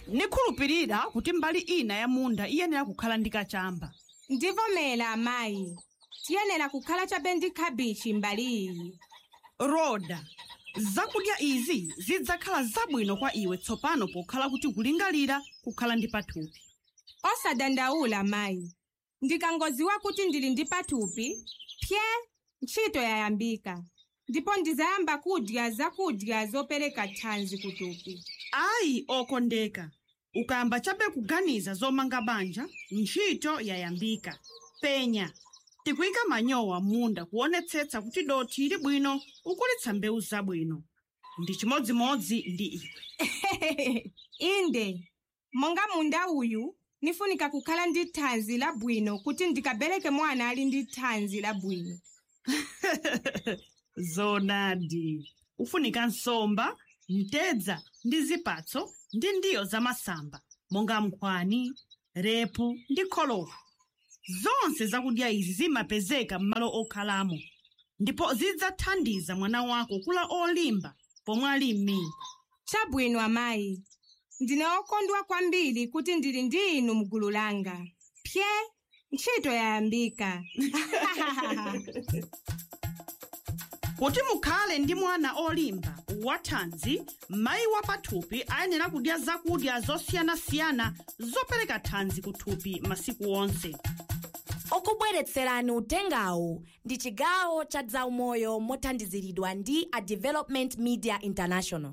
Nikhulupirira kuti mbali ina ya munda iyenera kukhala ndi kachamba. Ndivomera, amayi, tiyenera kukhala chabe ndi khabichi mbali iyi. Roda, zakudya izi zidzakhala zabwino kwa iwe tsopano pokhala kuti kulingalira kukhala ndi pathupi. Osadandaula, mayi, ndikangoziwa kuti ndili ndi pathupi, pye ntchito yayambika, ndipo ndizayamba kudya zakudya zopereka thanzi kuthupi. Ayi, okondeka, ukayamba chabe kuganiza zomanga banja, ntchito yayambika. Penya, tikuyika manyowa munda kuonetsetsa kuti dothi ili bwino ukulitsa mbewu zabwino. Ndi chimodzimodzi ndi iwe. Inde, monga munda uyu nifunika kukhala ndi thanzi labwino kuti ndikabereke mwana ali ndi thanzi labwino. Zonadi, ufunika nsomba, mtedza ndi zipatso ndi ndiyo zamasamba monga nkhwani, repu ndi kholowa. Zonse zakudya izi zimapezeka m'malo okhalamo ndipo zidzathandiza mwana wako kula olimba pomwe ali m'mimba. Chabwino, amayi, ndine okondwa kwambiri kuti ndili ndi inu mgulu langa. Pye, ntchito yayambika. Kuti mukhale ndi mwana olimba wathanzi, mayi wa pathupi ayenera kudya zakudya zosiyanasiyana zopereka thanzi kuthupi masiku onse. Okubweretserani utengawu ndi chigawo cha zaumoyo mothandiziridwa ndi a Development Media International.